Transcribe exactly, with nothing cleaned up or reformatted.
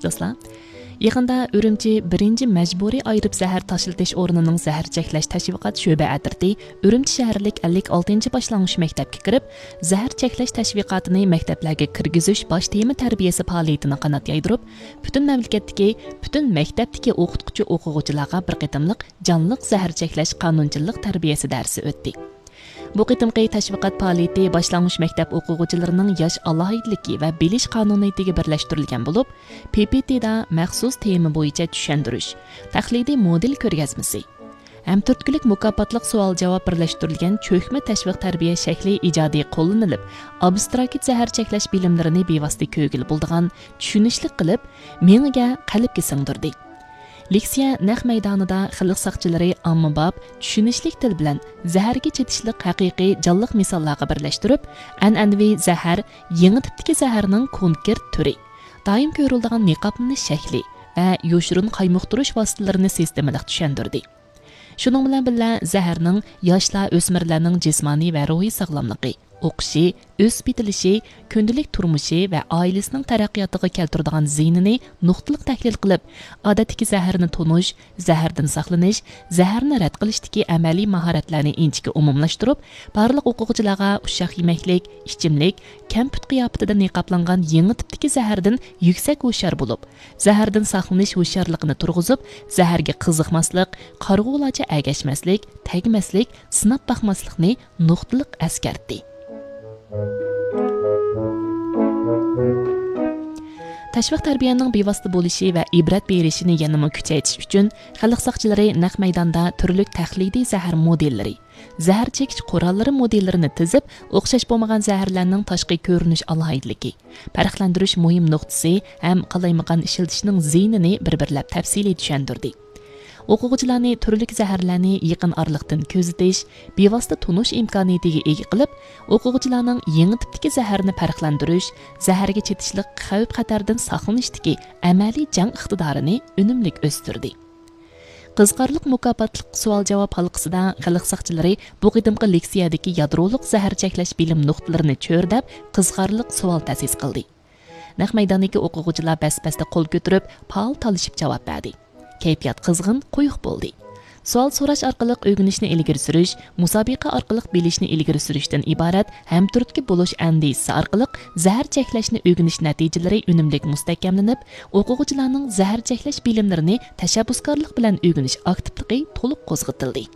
دوستلار، يېقىندا ئۈرۈمچى بىرىنچى مەجبۇرىي ئايرىپ زەھەر تاشلىتىش ئورنىنىڭ زەھەر چەكلەش تەشۋىقات شۆبە ئەترىتى ئۈرۈمچى شەھەرلىك ئەللىك ئالتىنچى باشلانغۇچ مەكتەپكە كىرىپ، زەھەر چەكلەش تەشۋىقاتىنى مەكتەپلەرگە كىرگۈزۈش باش تېما تەربىيەسى پائالىيىتىنى قانات يايدۇرۇپ، پۈتۈن مەملىكەتتىكى، پۈتۈن مەكتەپتىكى ئوقۇتقۇچى ئوقۇغۇچىلارغا بىر قېتىملىق جانلىق زەھەر چەكلەش قانۇنچىلىق تەربىيەسى دەرسى ئۆتتى. بۇ قېتىمقى تەشۋىقات پائالىيىتى باشلانغۇچ مەكتەپ ئوقۇغۇچىلىرىنىڭ ياش ئالاھىدىلىكى ۋە بىلىش قانۇنىيىتىگە بىرلەشتۈرۈلگەن بولۇپ، پ پ ت دا مەخسۇس تېما بويىچە چۈشەندۈرۈش، تەقلىدىي مودېل كۆرگەزمىسى، ھەمتۈرتكىلىك مۇكاپاتلىق سوئال-جاۋاب بىرلەشتۈرۈلگەن چۆكمە تەشۋىق تەربىيە شەكلى ئىجادىي قوللىنىلىپ، ئابستراكت زەھەر چەكلەش بىلىملىرىنى بىۋاسىتە كۆرگىلى بولىدىغان، چۈشىنىشلىك قىلىپ، مېڭىگە، قەلبكە سىڭدۈردى. لېكسىيە نەق مەيدانىدا خەلق ساقچىلىرى ئاممىباب، چۈشىنىشلىك تىل بىلەن زەھەرگە چېتىشلىق ھەقىقىي جانلىق مىساللارغا بىرلەشتۈرۈپ، ئەنئەنىۋى زەھەر، يېڭى تىپتىكى زەھەرنىڭ كونكرېت تۈرى، دائىم كۆرۈلىدىغان نىقابلىنىش شەكلى ۋە يوشۇرۇن قايمۇقتۇرۇش ۋاسىتىلىرىنى سىستېمىلىق چۈشەندۈردى. شۇنىڭ بىلەن بىللە، زەھەرنىڭ ياشلار، ئۆسمۈرلەرنىڭ جىسمانىي ۋە روھىي ساغلاملىقى، ئوقۇشى، ئۆسۈپ يېتىلىشى، كۈندىلىك تۇرمۇشى ۋە ئائىلىسىنىڭ تەرەققىياتىغا كەلتۈرىدىغان زىيىنىنى نۇقتىلىق تەھلىل قىلىپ، ئادەتتىكى زەھەرنى تونۇش، زەھەردىن ساقلىنىش، زەھەرنى رەت قىلىشتىكى ئەمەلىي ماھارەتلەرنى ئىنچىكە ئومۇملاشتۇرۇپ، بارلىق ئوقۇغۇچىلارغا ئۇششاق يېمەكلىك، ئىچىملىك، كەمپۈت قىياپىتىدە نىقابلانغان يېڭى تىپتىكى زەھەردىن يۈكسەك ھوشيار بولۇپ، زەھەردىن ساقلىنىش ھوشيارلىقىنى تۇرغۇزۇپ، زەھەرگە قىزىقماسلىق، قارىغۇلارچە ئەگەشمەسلىك، تەگمەسلىك، سىناپ باقماسلىقنى نۇقتىلىق ئەسكەرتتى. تەشۋىق تەربىيەنىڭ بىۋاسىتە بولۇشى ۋە ئىبرەت بېرىشىنى يەنىمۇ كۈچەيتىش ئۈچۈن، خەلق ساقچىلىرى نەق مەيداندا تۈرلۈك تەقلىدىي زەھەر مودېللىرى، زەھەر چېكىش قوراللىرى مودېللىرىنى تىزىپ، ئوخشاش بولمىغان زەھەرلەرنىڭ تاشقى كۆرۈنۈش ئالاھىدىلىكى، پەرقلەندۈرۈش مۇھىم نۇقتىسى ھەم قالايمىقان ئىشلىتىشنىڭ زىيىنىنى بىر-بىرلەپ تەپسىلىي چۈشەندۈردى. ئوقۇغۇچىلارنى تۈرلۈك زەھەرلەرنى يېقىن ئارىلىقتىن كۆزىتىش، بىۋاسىتە تونۇش ئىمكانىيىتىگە ئىگە قىلىپ، ئوقۇغۇچىلارنىڭ يېڭى تىپتىكى زەھەرنى پەرقلەندۈرۈش، زەھەرگە چېتىشلىق خەۋپ-خەتەردىن ساقلىنىشتىكى ئەمەلىي جەڭ ئىقتىدارىنى ئۈنۈملۈك ئۆستۈردى. قىزىقارلىق مۇكاپاتلىق سوئال-جاۋاب ھالقىسىدا خەلق ساقچىلىرى بۇ قېتىمقى لېكسىيەدىكى يادرولۇق زەھەر چەكلەش بىلىم نۇقتىلىرىنى چۆرىدەپ، قىزىقارلىق سوئال تەسىس قىلدى. نەق مەيداندىكى ئوقۇغۇچىلار بەس-بەستە قول كۆتۈرۈپ، پائال تالىشىپ جاۋاب بەردى. كەيپىيات قىزغىن، قويۇق بولدى. سوئال سوراش ئارقىلىق ئۆگىنىشنى ئىلگىرى سۈرۈش، مۇسابىقە ئارقىلىق بىلىشنى ئىلگىرى سۈرۈشتىن ئىبارەت ھەمتۈرتكە بولۇش ئەندىزىسى ئارقىلىق زەھەر چەكلەشنى ئۆگىنىش نەتىجىلىرى ئۈنۈملۈك مۇستەھكەملىنىپ، ئوقۇغۇچىلارنىڭ زەھەر چەكلەش بىلىملىرىنى تەشەببۇسكارلىق بىلەن ئۆگىنىش ئاكتىپلىقى تولۇق قوزغىتىلدى.